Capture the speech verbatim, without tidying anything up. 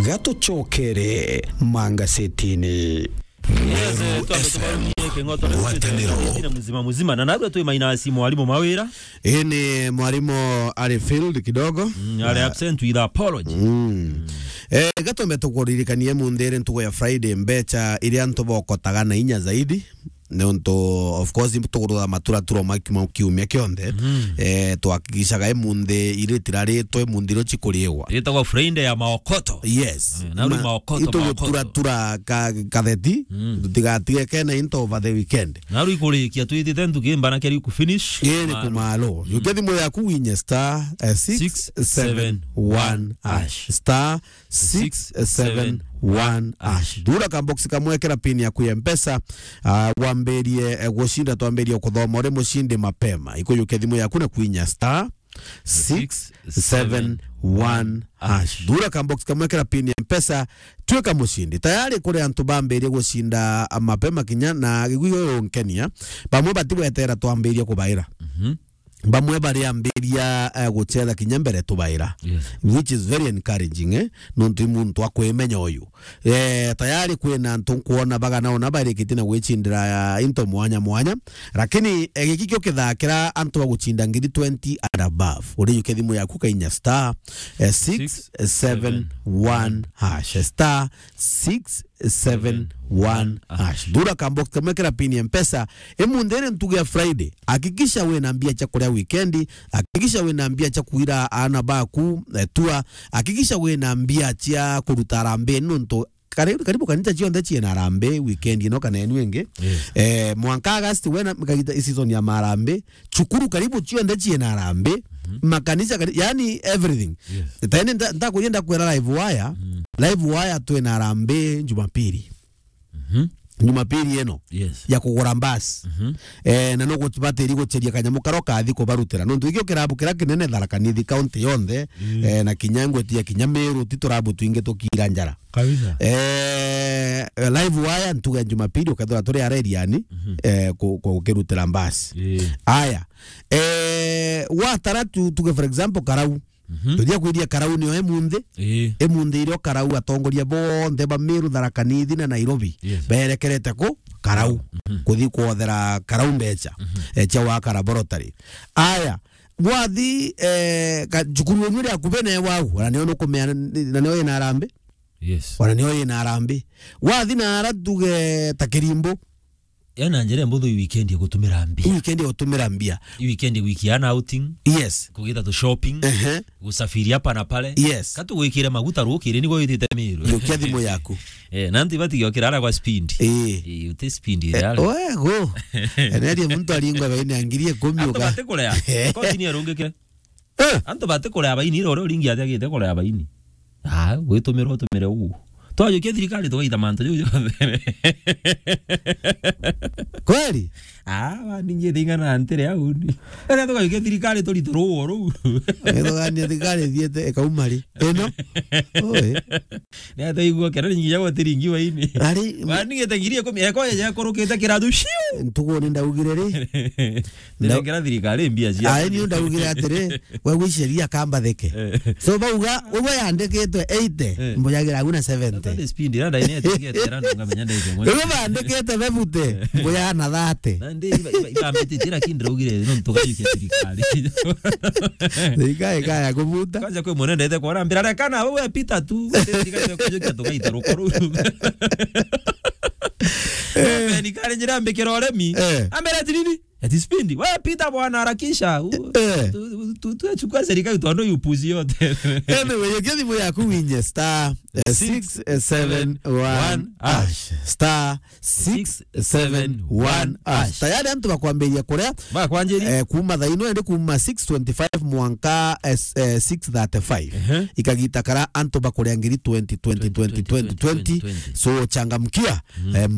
Gatucokere mangasetini. Yes, eh, Meru twambe F M, tubarumie king'oto na ngwataniro. Muzima muzima. Na narua twi mainasi mwarimu Mawira. Ii ni mwarimu ari field kidogo. Mm, ari absent with apology. Mm. Eh, gatombe tukuririkanie munthi iri ntugu ya Friday, mbecha iria antu bokotaga na inya zaidi. Nontu, of course, tugurura matura turo ma kiumia kionthe. Mm. Eh, twahakikishaga i munthi iritiraritwe, munthi irio cikuriigwa. Itagwa Friday ya maokoto. Yes. Eh, na riu maokoto, itugutura maokoto. Tura ka-, katheti, mm, tutigatige kena into over the weekend. Na riu ikurikia twitite ntuki mbana keri ku finish. Ii ni kumalo. Mm. Yukia thimu yaku winye star, eh, six seven one hash. Six seven one hash. Star six seven one hash. Thura ka box kamwe, kira pin yaku ya Mpesa, ah, wambirie, eh, gucinda, twambirie kuthoma uri mucindi mapema. Ikuyukia thimu yaku na kwinya star six seven one hash. Thura ka box kamwe, kira pin ya Mpesa, twika mucindi. Tayari kuri antu bambirie gucinda, ah, mapema kinya na gigwi uyu unkenia. Bamwe batibwetera twambirie kubaira. Mhm. Bamwe bariambiria, eh, gucetha kinya mbere tubaira. Yes. Which is very encouraging, eh? Nontu i muntu akwimenya uyu. Eh, tayari kwina antu nkwona bagana ona barikitie na gwicindira, ah, into mwanya mwanya. Lakini, eh, giki kio kithakira antu bagucinda ngiri twenty and above. Urijukia thimu yaku kainya star, eh, six seven one hash. Star six seven one hash. Thura ka box kamwe, kira pin ya Mpesa. I munthi iri ntugu ya Friday. Hakikisha wina mbia cia kuria weekend. Hakikisha wina mbia cia kuira aana baku, eh, tour. Hakikisha wina mbia cia kuruta harambee, nontu kari-, karibu kanisa cionthe ciina harambee weekend ino kana inu ingi. Yes. Eh, mwanka August wena kagita season ya maharambee. Cukuru karibu cionthe ciina harambee. Mhm. Makanisa kari-, yani everything. Yes. Tene nda-, ndakuria ndakwira live wire. Mm. Live wire twina harambee Jumapili. Mhm. Jumapili ino. Yes. Ya kugura mbasi. Mhm. Eh, na no gubatiri guceria kanyamu karo kathi kubarutira. Nontu ikio kirabu kira kinene Tharaka Nithi county yonthe, mm, eh, na kinya ngweti ya kinya Meru, ti turabu twingi tukira njara. Kabisa. Eh, live wire ntugu ya Jumapili ukethira turi areriani, mhm, eh, ku-, ku-, gukirutira mbasi. Eh. Aya. Eh, watara tu-, tuge for example Karau. Mhm. Tuthia kwiria Karau nio e munthi. Ii. E munthi irio Karau atongoria bonthe ba Meru, Tharaka Nithi na Nairobi, yes, berekerete ku Karau. Mhm. Kuthi kwothera Karau mbecha. Mhm. Eh, cia waka laboratory. Aya, gwathi, eh, ka-, cukuru yenu iri akubi na wau, ona nio nukumea, na nio ina harambee. Yes. Ona nio ina harambee. Gwathi na ara tuge ta Kirimbo. Yaani na njira mbuthu i weekend ya gutumira mbia. I weekend ya gutumira mbia. I weekend ya gwikia ana outing. Yes. Kugita tu shopping. Ehe. Gusafiri hapa na pale. Yes. Ka tugwikire maguta rukiri nigo witite Meru. Yukia thimu yaku. Eh, na nti bati giokira ara kwa speed. Eh. Eh, uti speed. Eh, yale. Oe, go. Enerie muntu aringwa baine ngiri ikumi. Antu uga- batikurea. Koti ni arungikire. Eh. Antu batikurea baini, ira uria uringi ati agite kurea baini. Ah, gwitumira utumire ugu. Twajukia thirikari tugaita mantu jau jonthe. Kweli? Ah, waningi thingana ntire au ni. Ere tugajukia thirikari turitu ruo ruu. Ethogania thirikari thiete ekauma ri? Ino? Oi. Ni ate igua kera ningi ya gwatiringi waini. Ari, wanigite ngiri ikumi, eko ya kurukite kiratu ciu. Ntugu ni ndaugire ri? Nda- Ndirengera thirikari mbia cia. Ai, ni ndaugire atiri, we wiceria kambathike. Eh. So bauga, ugwe yandikitwe eighty, eh, mbujagira agu na seventy. That is speed, ira ndaine etigetera nunga menya ndaike mwe. Ugwe bandikite bebute, mbuja na thirty. Na ndi iba, iba, iba mbitite, lakini ndaugire, no ntugajukia thirikari. Thirikari kaya kubuta. Kwanza kwi mwene ndete kwona mbira, rekana, we pita tu. Thirikari kujukia tugaita rukuru. Eh. Ni kare njira mbikira uremi. Eh. Ambira ati nini? Ati speed. We pita bwana, harakisha. U-, eh, tu-, tu-, tu-, tuchukua serikali tuondoe upuzi yote. Anyway, yukia thimu yaku winye star, eh, six seven one hash. Star six seven one hash. Tayari antu bakwambiria kuria. Bakwanjiria. Eh, kuma thaa ino ende kuma six twenty-five mwanka, eh, s-, eh, six thirty-five. Ehe. Ikagita kara antu bakuria ngiri twenty, twenty, twenty, twenty, twenty. So changamkia, mm, eh,